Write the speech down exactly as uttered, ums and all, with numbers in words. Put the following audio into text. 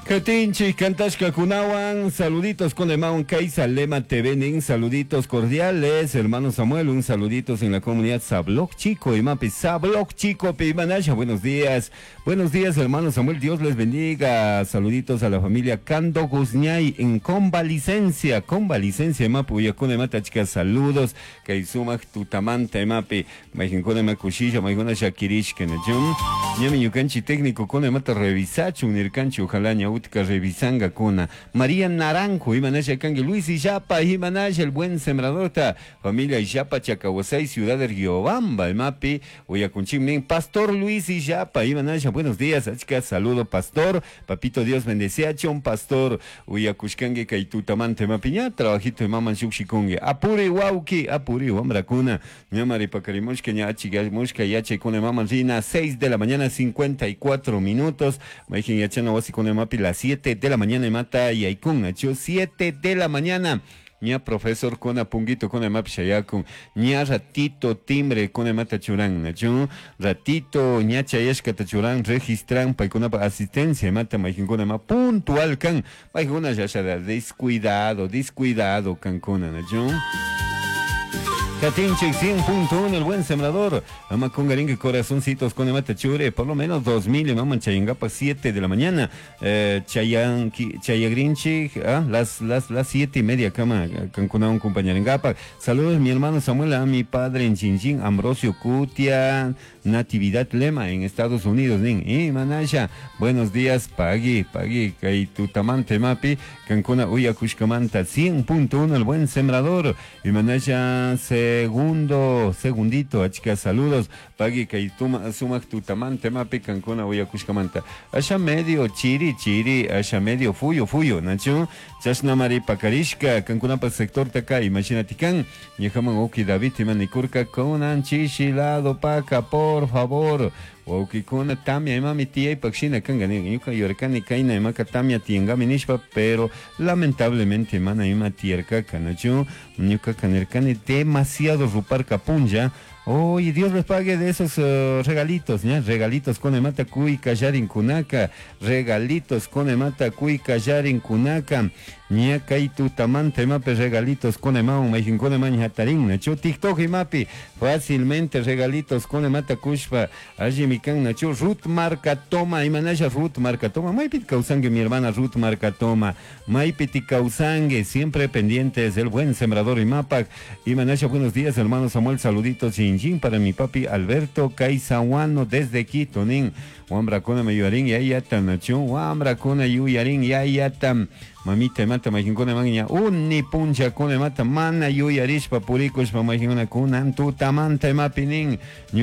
Katinchik kantashkakunawan, saluditos con Emaun Kaisa Lema T V nin, saluditos cordiales, hermano Samuel, un saluditos en la comunidad Sabloc Chico, imapi Sabloc Chico, Pimanasha, buenos días, buenos días, hermano Samuel, Dios les bendiga, saluditos a la familia Cando Guzñay en convalicencia, convalicencia, imapi uyakuna imata chica, saludos, kay sumak tutamanta imapi, mayqinkuna ima kushilla, maykuna shakirishka, nachun, ñami ñukanchik técnico kuna imata revisachun nirkanchik, ojalá ña utka revisangakuna. María Naranjo, imanasha kanki, Luis Illapa, imanasha, el buen sembradorta, familia Illapa, Chacahuasay, Ciudad de Riobamba, imapi, uyakunchik Pastor Luis Illapa, imanasha, buenos días, achka saludo, pastor, papito Dios bendeciachun, pastor, uyakushkanki kay tutamanta imapi, ña trabajito imaman shukshikunki, apuri wawki, apuri wamrakuna, ñamari pakarimushka, ña achigamushka, yachaykuna imaman rina, seis de la mañana, cincuenta y cuatro minutos, mayqin yachana wasikuna imapi, las siete de la mañana imata yaykun, nachu siete de la mañana, ña profesor kuna punguito kuna imapi shayakun, ña ratito timbre kuna imata churan, nachu ratito ña chayashkata churan, registran paykunapa asistencia imata, mayqinkuna ima puntual kan, paykuna yasha descuidado, descuidado kankuna, nachu. Katinchik cien punto uno, el buen sembrador. Ama kungarinki corazoncitos con mata chure, por lo menos dos mil, mama chayangapa siete de la mañana. Eh, chayanki, chayagrinchi, ah, las, las, las siete y media kama, kankuna un compañerengapa. Saludos mi hermano Samuel, a mi padre en Chinchín, Ambrosio Cutia, Natividad Lema en Estados Unidos, nin. Y manasha, buenos días, pagui, pagui, kay tutamanta imapi, kankuna uyakushkamanta cien punto uno, el buen sembrador. Y manasha, segundo, segundito, achka saludos, pagui kay tuma, sumak tutamanta imapi, kankuna uyakushkamanta. Asha medio chiri, chiri, asha medio fuyo, fuyo, nachu, chashnamari pakarishka, kankunapa sector taka, imagínate kan, ñukaman uki David imanikurka, kunan chishi lado paka, por favor, wawkikuna tamia imami tiyaypak shina kanka ñuka yurkani kayna imaka tamia tiyankami nishpa, pero lamentablemente mana ima tiyarkaka, nachu, ñukaka nirkani demasiado ruparka punlla. Oye, Dios les pague de esos uh, regalitos, ¿ya? Regalitos con emata kuy kallarin kunaka, regalitos con emata kuy kallarin kunaka, ña kay tutamanta imapi regalitos con emaun, mayqin con ema hatarin, nachu TikTok imapi, fácilmente regalitos con emata kushpa, allimi kan, nachu Ruth Marca Toma, imanasha Ruth Marca Toma, maypi kawsanki mi hermana Ruth Marca Toma, maypi kawsanki, siempre pendientes del buen sembrador imapak, imanasha, buenos días hermano Samuel, saluditos sin para mi papi Alberto Caizahuano desde Quito, nin, wamrakuna yuyarin yayata, nachu, wamrakuna yuyarin yayata, mamita mata mayqinkuna maña uni punchakuna mata mana yuyarishpa purikushpa mayqinkuna kunan tutamanta imapi nin.